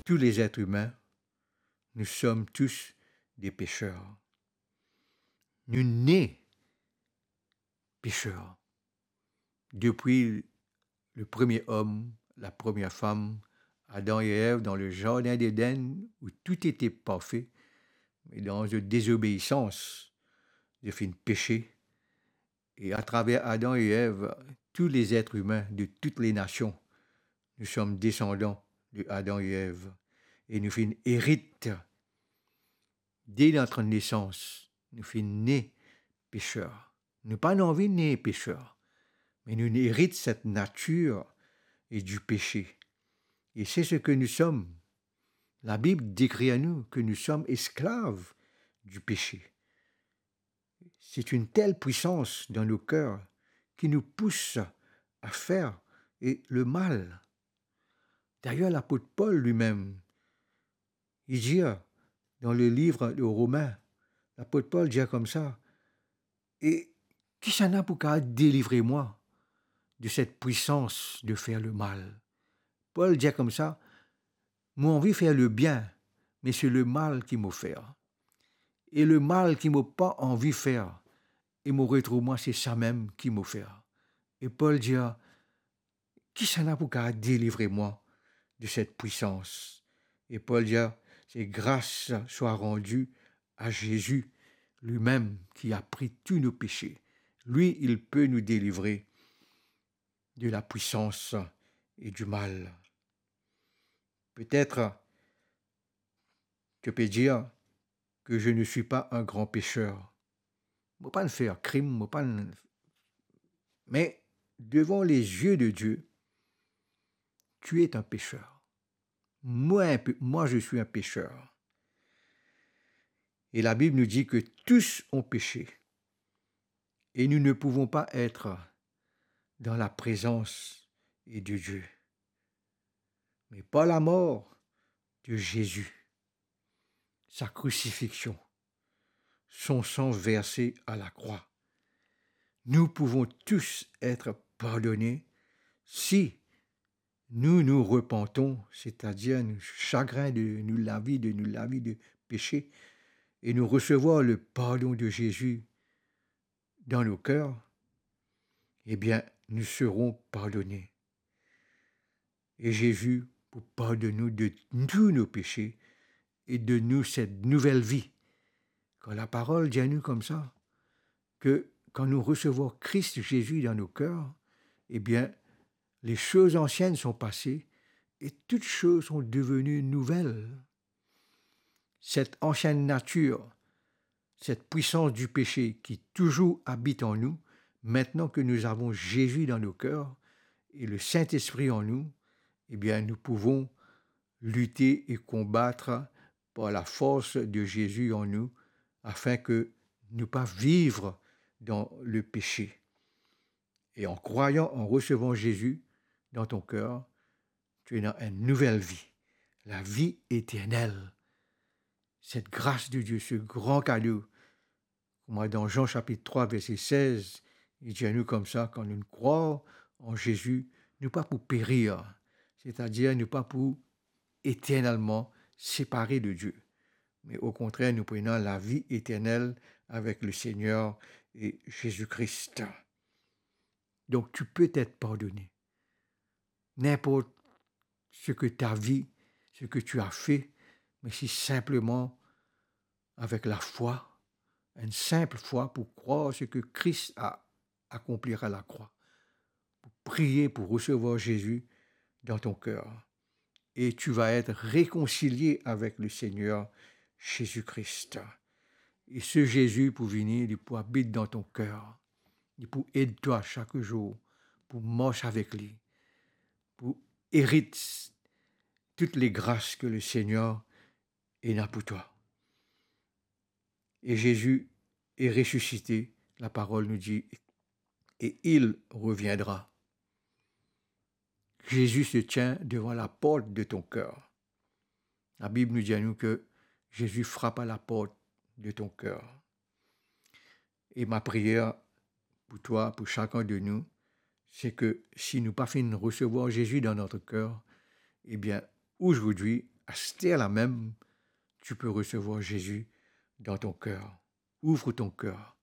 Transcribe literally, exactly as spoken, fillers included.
tous les êtres humains, nous sommes tous des pécheurs. Nou ne peser. Depi le premie om, la premie fam, Adam e Ev, dan le zardin Eden, ou tou ete parfe, me dan zot dezobeisans, zot finn pese, e atraver Adam e Ev, tous les êtres humains de toutes les nations, nous sommes descendants de Adam et Ève, e nou finn erit de notre naissance, nou finn ne peser. Nou pa anvi ne peser, me nou erit cette nature et du péché. Et c'est ce que nous sommes. La Bible décrit à nous que nous sommes esclaves du péché. C'est une telle puissance dans nos cœurs qui nous pousse à faire et le mal. D'ailleurs, l'apôtre Paul lui-même, il dit dans le livre de Romains, l'apôtre Paul dit comme ça, et kisannla pou kapav delivre mwa de cette puissance de faire le mal? Paul dit comme ça, mo anvi fer lebien, me se lemal ki mo fer. E lemal ki mo pa anvi fer, e mo retrouv mwa se samem ki mo fer. E Paul dir, kisannla pou kapav delivre mwa de cette puissance? Et Paul dit, c'est grâce soit rendue à Jésus, lui-même qui a pris tous nos péchés. Lui, il peut nous délivrer de la puissance et du mal. Peut-être tu peux dire que je ne suis pas un grand pécheur. Mo pa fer krim, mo pa... Mais devant les yeux de Dieu, tu es un pécheur. Moi, un pé-, moi, je suis un pécheur. Et la Bible nous dit que tous ont péché. Et nous ne pouvons pas être dans la présence de Dieu. Mais par la mort de Jésus, sa crucifixion, son sang versé à la croix, nous pouvons tous être pardonnés si nous nous repentons, c'est-à-dire nou sagrin de nou lavi, de nou lavi de péché, et nous recevoir le pardon de Jésus dans nos cœurs, eh bien, nous serons pardonnés. E Zezi pou pardonn nou de tous nos péchés et donn nou cette nouvelle vie. Kan laparol dir nou koumsa, ke kan nou resevwar Kris Zezi dan nou ker, ebien, les choses anciennes sont passées et toutes choses sont devenues nouvelles. Cette ancienne nature, cette puissance du péché qui toujours habite en nous, maintenant que nous avons Jésus dans nos cœurs et le Saint-Esprit en nous, eh bien, nous pouvons lutter et combattre par la force de Jésus en nous, afin que nous pas vivre dans le péché. Et en croyant, en recevant Jésus dans ton cœur, tu es dans une nouvelle vie, la vie éternelle. Cette grâce de Dieu, ce grand cadeau, kouma dan Jean chapitre trois, verset seize, li dir nou koumsa, kan nou krwar an Zezi, nou pa pou perir, setadir nou pa pou eternelman separe de Dieu. Mais au contraire, nous prenons la vie éternelle avec le Seigneur et Jésus-Christ. Donc, tu peux être pardonné. N'importe ce que ta vie, ce que tu as fait, mais si simplement avec la foi, une simple foi pour croire ce que Christ a accompli à la croix, pour prier, pour recevoir Jésus dans ton cœur. Et tu vas être réconcilié avec le Seigneur Jésus-Christ. E se Zezi pou vini, li pou abit dan to ker. Li pou ed twa sak zour, pou mars avek li, pou erit toutes les grâces que le Seigneur ena pou twa. E Zezi est ressuscité, laparol nou dir, et il reviendra. Jésus se tient devant la porte de ton cœur. La Bible nous dit à nous que Jésus frappe à la porte de ton cœur. Et ma prière pour toi, pour chacun de nous, c'est que si nou pa finn resevwar Zezi dan nou ker, ebien, aujourd'hui, Aster la mem, tu peux recevoir Jésus dans ton cœur. Ouvre ton cœur.